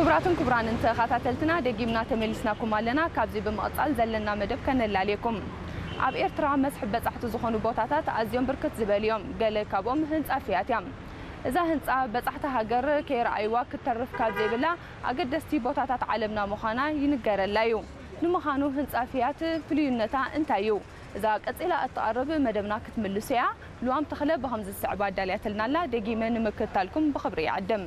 ክቡራትን ክቡራንን ተኸታተልትና፣ ደጊምና ተመሊስናኩም ኣለና። ካብዚ ብምቕጻል ዘለና መደብ ከነላልየኩም። ኣብ ኤርትራ መስሕብ በጻሕቲ ዝኾኑ ቦታታት ኣዝዮም ብርክት ዝበሉ እዮም። ገለ ካብኦም ህንጻ ፊያት እያ። እዛ ህንጻ በጻሕቲ ሃገር ከይረኣይዋ ክትተርፍ ካብ ዘይብላ ኣገደስቲ ቦታታት ዓለምና ምዃና ይንገረላ እዩ። ንምዃኑ ህንጻ ፊያት ፍልዩነታ እንታይ እዩ? እዛ ቀጺላ እትቐርብ መደብና ክትምልሱ እያ። ልዋም ተኽለ ብኸምዚ ዝስዕብ ኣዳልያትልና ኣላ። ደጊመ ንምክትታልኩም ብኽብሪ ይዕድም።